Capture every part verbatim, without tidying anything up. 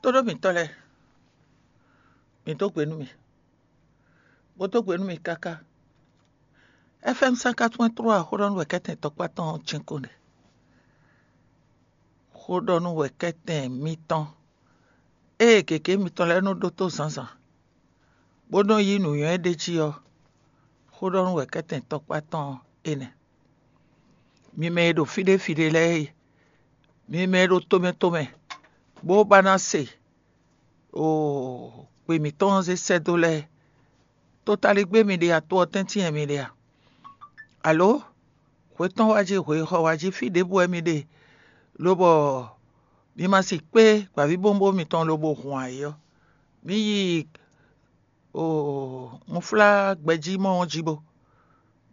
Tóɖó mǐtɔn lɛ́ɛ, mǐ dó gbe nú mì, bó dó gbe nú mì káká. F M cent quatre-vingt-trois xóɖɔnú wɛ kɛ́tɛn tɔkpá tɔn ɔ́ cɛ́nkɔ́n ɖe. Xóɖɔnú wɛ kɛ́tɛn mitɔn ée gěgé mitɔn lɛ́ɛ nɔ ɖótó zǎnzǎn, bó nɔ yí nǔnywɛ́ ɖ'é jí ɔ́, xóɖɔnú wɛ kɛ́tɛn tɔkpá tɔn ɔ́ é nɛ́. Mi mɛ e ɖo fí ɖé fí ɖé lɛ́ɛ e, mi mɛ e ɖo tomɛ tomɛ, bó ba ná se oo, gbe mǐtɔn ɔ́ zé sɛ́ dó lɛ́ɛ, totaligbé mi ɖe a, to ɔ́ tɛ́ntin wɛ mi ɖe a? Alo hwe tɔn wá jí, hwe e xɔ wá jí fí ɖěbǔ wɛ mi ɖe, lobɔ mi ma si kpé gbǎvíbówúnbówún mitɔn lobo hun ayǐ ɔ́, mi yi oo unflágbɛjí mɔ ɔ́ jí bó,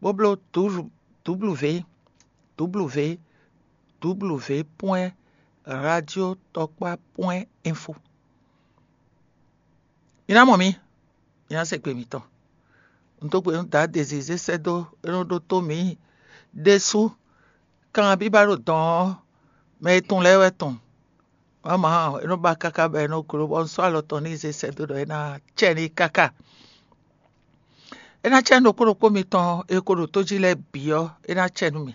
bó bló dǔblǔvé dǔblǔvé dǔblǔvé pwɛ́n radiotɔkpá pwɛ́n info. Mi ná mɔ mì, mi ná se gbe mǐtɔn. Un dó gbe nú Daá Dezizé sɛ́ dó é nɔ ɖótó mǐ ɖésú kanbíbá ɖo dɔn ɔ́, mɛ e tunwun lɛ́ɛ wɛ tunwun. Wǎ mǎ, é nɔ ba káká bɔ é nɔ gló bɔ un sɔ́ alɔ tɔn n'i zé sɛ́ dó ɖɔ é ná cɛ n'i káká. É ná cɛ nú ɖokpó ɖokpó mitɔn e ko ɖo tó jí lɛ́ɛ bǐ ɔ́, é ná cɛ nú mì.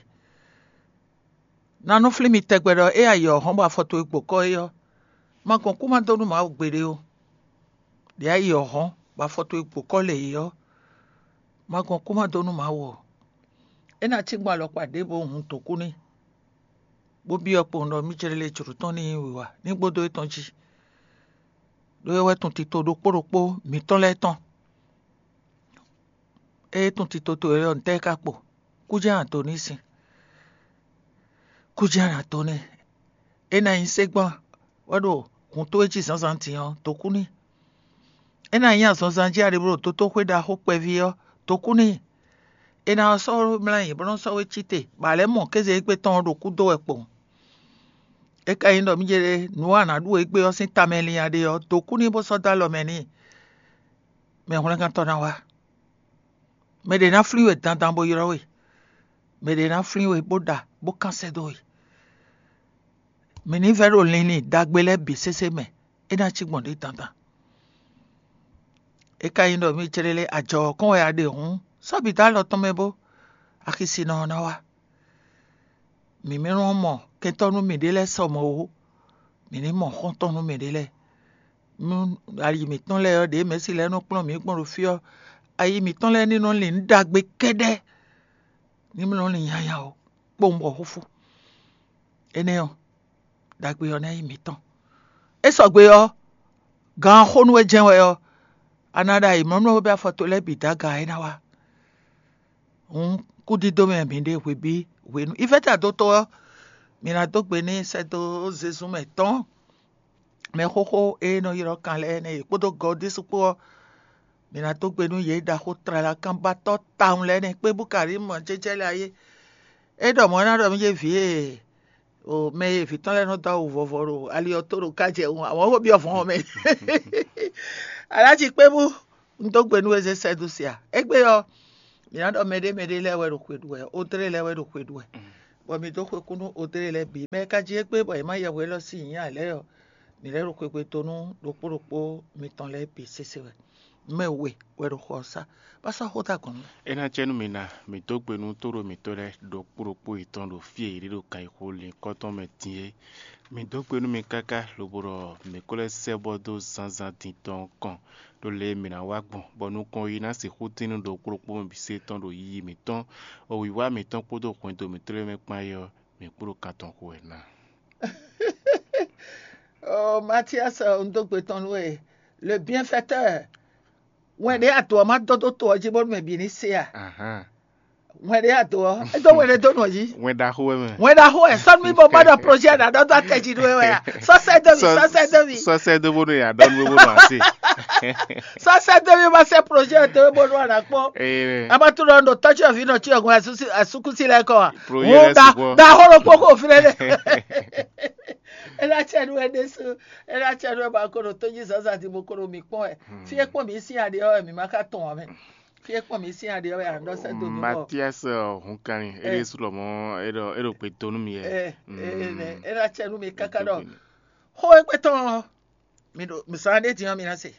Ná nɔ flín mi tɛgbɛ ɖɔ é ayi ɔ́ hɔn bɔ afɔ towe gbo kɔ́ é ɔ́, ma gɔn kú ma dó nú Mawu gbeɖé ó. Ɖě ayi ɔ́ hɔn bɔ afɔ towe gbo kɔ́ lě é ɔ́, ma gɔn kú ma dó nú Mawu ó. É ná cí gbɔn alɔkpa ɖěvo hun dǒkú n'i, bó byɔ́ kpowun ɖɔ mí jlé lě jlǒ tɔn ní nyí wǐwá ní gbódó étɔn jí, ɖó é wɛ tun tito ɖokpó ɖokpó mǐtɔn lɛ́ɛ tɔn. Ée tun tito towe lɛ́ɛ ɔ́, ntɛ́ é ka kpo? Kú jɛ́n a nǎ dó n'i sin? Kú jɛ́n a nǎ dó n'i? É ná nyí ségbán wɛ ɖo hun towe jí zǎnzǎn din ɔ́, dǒ kú n'i. É ná nyí azɔnzan jí a ɖe bló ɖo dotóxwé ɖaxó kpɛví ɔ́, dǒ kú n'i. È nǎ sɔ́ we mlá nyi bó nɔ́ sɔ́ we cí te, bɔ a lɛ́ mɔ kéze égbé tɔn ɔ́ ɖo kúdó wɛ kpowun. É ka nyí ɖɔ mí jɛ nǔ a nǎ ɖu égbé ɔ́ sín tamɛ lin a ɖe ɔ́, dǒ kú n'i bó sɔ́ dó alɔ mɛ n'i. Mɛ hwlɛ́ngántɔ́ ná wá. Mɛ ɖě ná flín we dandan bó ylɔ́ we. Mɛ ɖě ná flín we bó ɖa bó kán sɛ́ dó we. Mǐ ní vɛ́ ɖo linlin ɖagbe lɛ́ɛ bǐ sésé mɛ, é ná cí gbɔn ɖě dandan. É ka nyí ɖɔ mí jlé lé ajɔ ɔ́ kɔn wɛ a ɖe hǔn, sɔ́ bǐ dó alɔ tɔn mɛ bó, axisinɔ ɔ́ ná wá. Mǐ mɛ nɔ mɔ kɛntɔ́ nú mǐɖée lɛ́ɛ sɔ mɔ̌ ó, mǐ ní mɔ xɔ́ntɔn nú mǐɖée lɛ́ɛ. Nú ayi mǐtɔn lɛ́ɛ ɔ́, ɖě mɛ̌si lɛ́ɛ nɔ kplɔ́n mǐ gbɔn ɖo fí ɔ́, ayi mǐtɔn lɛ́ɛ ní nɔ lin nǔ ɖagbe kɛ́ɖɛ́, ní nɔ lin nyanya ɔ́, kpowun bɔ xúfú. Énɛ́ ɔ́, ɖagbe ɔ́ ná nyí mǐtɔn. É sɔgbe ɔ́, gan xó nú we jɛ́n wɛ ɔ́, a ná ɖo ayǐmlɔ́mlɔ́ bɔ afɔ towe lɛ́ɛ bǐ dó aga é ná wá. Hǔn kúdídó mɛ mǐ ɖe hwebǐ hwenu. Ivɛ́ta dó tó ɔ́, mǐ ná dó gbe n'i sɛ́ dó zezun mɛ tɔn. Mɛ xóxó e nɔ ylɔ́ kan lɛ́ɛ nɛ́ yě kpódó Gɔdísu kpó ɔ́, mǐ ná dó gbe nú yě ɖaxó tlalakanbatɔ́ tawun lɛ́ɛ nɛ́ kpé bú Karímu jɛ́jɛ́ lɛ́ɛ ayé. É ɖɔ mɔ̌ ná ɖɔ mí yé vǐ e o mɛ e vǐ tɔn lɛ́ɛ nɔ dó awu vɔvɔ ɖo ali ɔ́ tó ɖo ká jɛ wun, àwọn xó byɔ́ vɔ̌n ɔ́ mɛ. Alájí kpé bú un dó gbe nú we zé sɛ́ dó se a? Égbé ɔ́, mǐ ná ɖɔ mɛɖé mɛɖé lɛ́ɛ wɛ ɖo xwe ɖu wɛ, Odré lɛ́ɛ wɛ ɖo xwe ɖu wɛ, bɔ mǐ dó xwekú nú Odré lɛ́ɛ bǐ. Mɛ e ka jí égbé bɔ è má yɛ hwe élɔ́ sín nyǐ ǎ lɛ́ɛ ɔ́, mǐ lɛ́ ɖo xwegbe dó nú ɖokpó ɖokpó mitɔn lɛ́ɛ bǐ sésé wɛ. Mɛ we wɛ ɖo xɔ ɔ́ sá, bó sɔ́ xó dó agɔ̌n nú mì. É ná cɛ nú mi ná, mǐ dó gbe nú tóɖó mǐtɔn lɛ́ɛ ɖokpó ɖokpó yětɔn ɖo fí e yě ɖo kan yi xo linkɔ́ tɔn mɛ din é. Mǐ dó gbe nú mi káká lobo ɖɔ mǐ ko lɛ́ sɛ́ bɔ dó zǎnzǎn din tɔn ɔ́ kɔn, ɖó lě e mǐ ná wa gbɔn, bɔ nukɔn yi ná sixú tín nú ɖokpó ɖokpó mɛ bǐ se tɔn ɖo yiyi mǐtɔn, wiwa mǐtɔn kpódó hwɛndo mǐtɔn lɛ́ɛ mɛ kpán é ɔ́, mǐ kpo ɖo kan tɔn xo wɛ ná. Oh, Mathias, un dó gbe tɔn nú we. Le bienfaiteur. Wɛn ɖě a dǒ ɔ́ má dó dó to ɔ́ jí bónú mɛ bǐ ní se a? Wɛn ɖě a dǒ ɔ́, é dó wɛn ɖé dó nɔ jí. Wɛn ɖaxó wɛ mɛ. Wɛn ɖaxó wɛ, sɔ́ nú mì bó má ɖɔ projet ɔ́ ná ɖɔ dó atɛ jí nú we wɛ a? Sɔ́ sɛ́ dó mì, sɔ́ sɛ́ dó mì. Sɔ́ sɛ́ dó bónú yě ná ɖɔ nú we bónú a se. Sɔ́ sɛ́ dó mì má sɛ́ projet ɔ́ dó we bónú a nǎ kpɔ́n. Ee, a ma tunɔ ɖo tɔ́jú ɔ̀ví nɔ cí ọ̀gbọ́n asúkúsí lɛ́ɛ kɔ a? Projet lɛ́ɛ sugbɔ. Ɖaxó ɖokpó xo fínɛ́ ɖe. É ná cɛ nú wɛ ɖésú. É ná cɛ nú wɛ bɔ a ko ɖo tó jí zǎnzǎn din bó ko ɖo mǐ kpɔ́n wɛ. Fí e kpɔ́n mǐ sín aɖe ɔ́ wɛ mǐ ma ka tɔn ǎ mɛ. Fí e kpɔ́n mǐ sín aɖe ɔ́ wɛ a nɔ sɛ́ dó mǐ bɔ. Matias hunkanni é ɖésú lɔmɔ̌ é ɖɔ é ɖo gbe dó nú mi wɛ. Ɛ ɛ ɛ é ná cɛ nú mi káká ɖɔ xó égbé tɔn ɔ́, Mi ɖo mi sa ɖé din ɔ́, mi ná se.